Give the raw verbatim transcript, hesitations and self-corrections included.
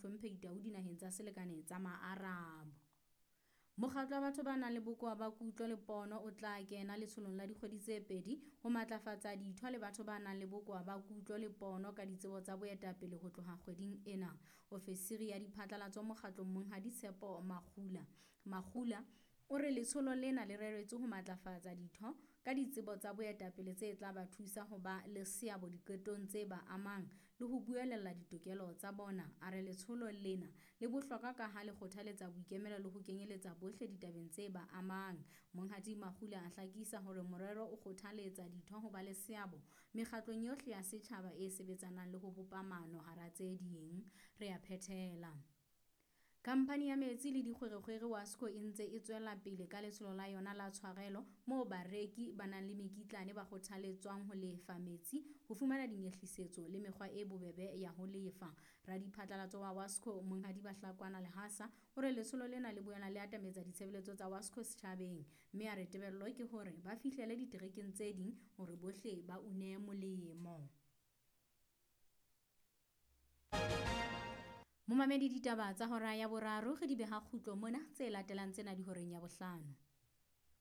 Mohlomphehi Tau dinaheng tsa selekane tsa Maarabo. Mokgatlo wa batho ba nang le bokowa ba kutlo le pono o tla kena letsholong la dikgwedi tse pedi ho matlafatsa ditho le batho ba nang le bokowa ba kutlo le pono ka ditsebo tsa boetapele ho tloha kgweding ena. Ofisiri ya diphatlalatso mokgatlong Monghadi Tshepo Makgula Makgula o re letsholo lena le reretswe ho matlafatsa ditho ka ditsebo tsa boetapele tse tla ba thusa ho ba le seabo diqetong tse ba amang le ho buelella ditokelo tsa bona. A re letsholo lena le bohlokwa kaha le kgothaletsa boikemelo le ho kenyeletsa bohle ditabeng tse ba amang. Monghadi Makgula a hlakisa hore morero o kgothaletsa ditho ho ba le seabo mekgatlong yohle ya setjhaba e sebetsanang le ho bopa maano hara tse ding. Re a phethela. Khamphani ya metsi le dikgwerekgwere WASCO e ntse e tswela pele ka letsholo la yona la tshwarelo moo bareki ba nang le mekitlane ba kgothaletswang ho lefa metsi ho fumana dinyehlisetso le mekgwa e bobebe ya ho lefa. Radiphatlalatso wa WASCO Monghadi Bahlakwana Lehasa o re letsholo lena le boela le atametsa ditshebeletso tsa WASCO setjhabeng mme a re tebello ke hore ba fihlele diterekeng tse ding hore bohle ba une molemo. Momamedi ditaba tsa hora ya boraro re di beha kgutlo mona tse latelang tsena di horeng ya bohlano.